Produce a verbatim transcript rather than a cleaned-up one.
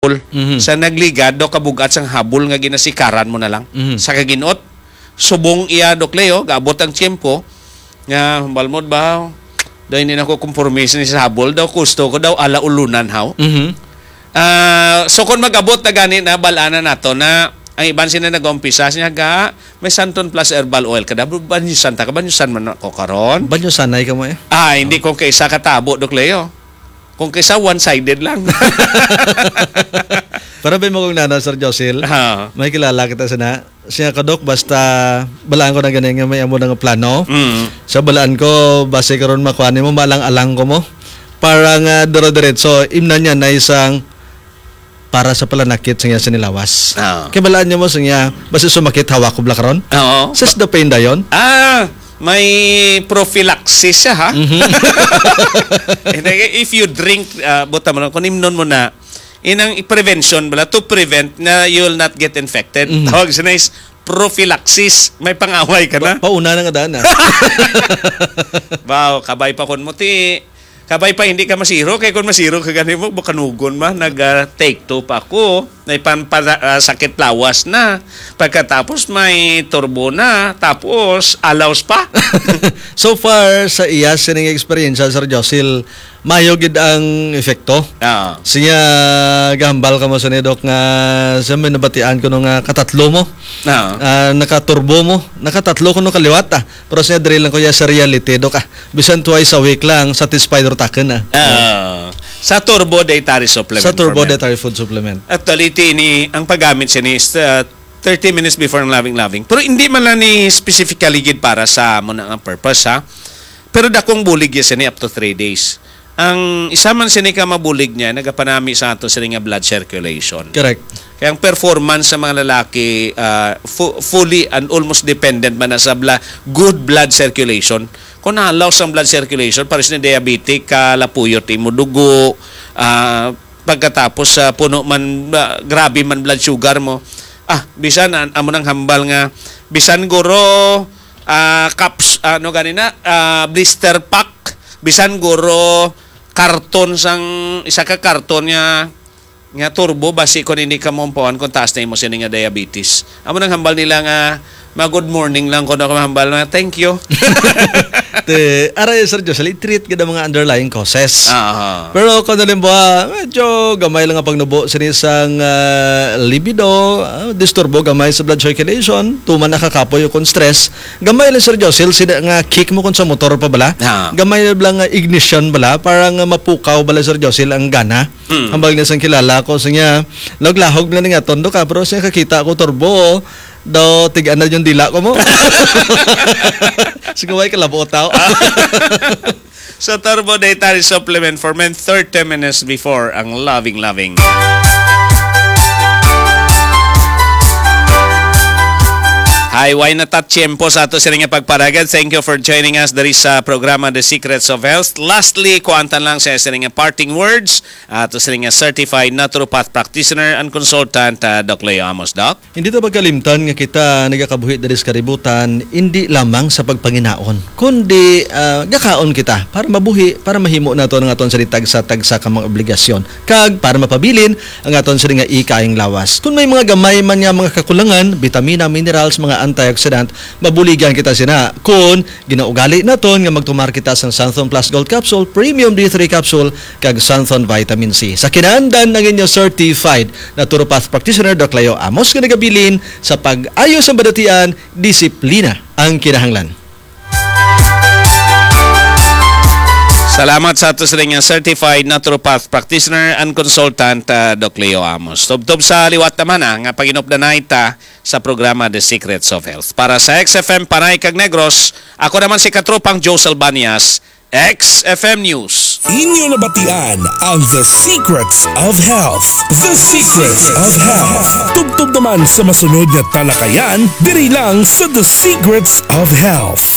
Mhm. Sa nagligad, daw kabugat sang habol nga ginasikaran mo na lang. Mhm. Sa kaginot, subong iya, Doc Leo, gaabot ang tiyempo, nga, balmod ba, daw hindi na ko kumpormis ni sa habol, daw gusto ko, daw ala ulunan, haw. Mhm. Ah, so kung mag-abot na gani na, bal-anan nato na ang iban sila nag-umpisa, siya ga, may Santon Plus Herbal Oil ka, daw, banyusan ta ka, banyusan man ako karon. Banyusanay ka mo eh. Ah, hindi ko kaysa katabo, Doc Leo. Kung kaysa one-sided lang. Para ba mo kung nana, Sir Josil? Ha. May kilala kita sana. Siya ka, Doc, basta balaan ko na gani nga may amo na nga plano. Mm. Sa balaan ko, base karon makuha nimo, malang-alang ko mo. Para nga dire-diretso, imna niya na isang para sa palanakit sa iya sinilawas. Ah. Kay balaan niya mo sa iya, basta sumakit, hawak ko bla karon. Oo. Sis the pain dayon? Ah, may prophylaxis siya, ha? Mhm. And then, if you drink, ah, buta mo lang, kung imnon mo na, inang prevention bala, to prevent na you will not get infected. Mhm. Tawag siya na is prophylaxis. May pangaway ka na. Pa-, pauna na nga daan, ah. Wow, kabay pa kun mo ti, kabay pa hindi ka masiro, kay kung masiro ka gani mo, bakanugon ma, nag, ah, take two pa ako. May pan-, pa-, ah, sakit lawas na. Pagkatapos may turbo na, tapos alaws pa. So far, sa iya sining eksperyensya, Sir Josil, mayo gid ang epekto. Ah. Siya, gahambal ka mo sa ni Doc nga sa may nabatian ko nung, ah, katatlo mo. Ah. Ah, nakaturbo mo. Nakatatlo ko nung kaliwat, ah. Pero siya, diri lang ko ya sa reality, Doc, ah. Bisan twice a week lang, satisfied or taken, ah. Ah. Sa turbo dietary supplement Sa turbo format. Dietary food supplement. Actually, tini, ang paggamit siya ni is, ah, thirty minutes before ang loving-loving. Pero hindi man lang ni specifically gid para sa amo na nga purpose, ha. Pero dakong bulig ya sini up to three days. Ang isa man sini ka mabulig niya, nagapanami sa ato sini nga blood circulation. Correct. Kaya ang performance sa mga lalaki, ah, fu-, fully and almost dependent man na sa bla-, good blood circulation. Kung nalaw sa blood circulation, pares ni diabetic, kalapuyot imo dugo, ah, pagkatapos sa puno man, ah, grabe man blood sugar mo. Ah, bisan an-, amo nang hambal nga, bisan guro, ah, caps, ano gani na, ah, blister pack, bisan guro karton sang, isa ka karton nga, nga turbo, basi kung hindi ka maumpawan kung taas na imo sini nga diabetes. Amo nang hambal nila nga, ma-good morning lang ko na ko hambal na, "Thank you." Te, aray, Sir Jocelyn, i-treat gid ang mga underlying causes. Aha. Pero kung halimbawa, medyo gamay lang ang pagnubo sini sang, ah, libido, ah, disturbo gamay sa blood circulation, tuman nakakapoy o kung stress, gamay lang, Sir Jocelyn, sila nga kick mo kung sa motor pa bala. Ah. Gamay lang nga ignition bala, para nga mapukaw bala, Sir Jocelyn, ang gana. Hmm. Hambal niya sang kilala ko, sa niya, laglahog na nga tondo ka, pero siya kakita ko turbo, daw tigaan na yung dila ko mo. Siguro ay kalabo tao. Sa Turbo Dietary Supplement for Men, thirty minutes before ang loving, loving. Hi, way na ta tiyempo sa ato sini nga pagparagad. Thank you for joining us diri sa programa The Secrets of Health. Lastly, kuantan lang sa sini nga parting words ato sini nga certified naturopath practitioner and consultant, ah, Doc Leo Amos. Doc? Hindi ta pagkalimtan nga kita nagakabuhi diri sa kaributan, hindi lamang sa pagpanginaon, kundi, ah, gakaon kita para mabuhi, para mahimo nato ang aton sa tagsa-tagsa ka mga obligasyon, kag para mapabilin ang aton sini nga ikayang lawas. Kung may mga gamay man nga mga kakulangan, bitamina, minerals, mga antioxidant, mabuligan kita sina. Kung ginaugali naton nga magtumar kita sang Santhon Plus Gold Capsule, Premium D three Capsule, kag Santhon Vitamin C. Sa kinaandan ang inyo certified naturopath practitioner, Doc Leo Amos, nga nagabilin sa pag-ayo sa badatian, disiplina ang kinahanglan. Salamat sa ato sila nga certified naturopath practitioner and consultant, ah, Doc Leo Amos. Tubtob sa liwat naman, ah, nga paginupdanay ta sa programa The Secrets of Health. Para sa X F M Panay kag Negros, ako naman si Katropang Joe Salbanias, X F M News. Inyo nabatian ang The Secrets of Health. The Secrets of Health. Tubtob naman sa masunod nga talakayan, diri lang sa The Secrets of Health.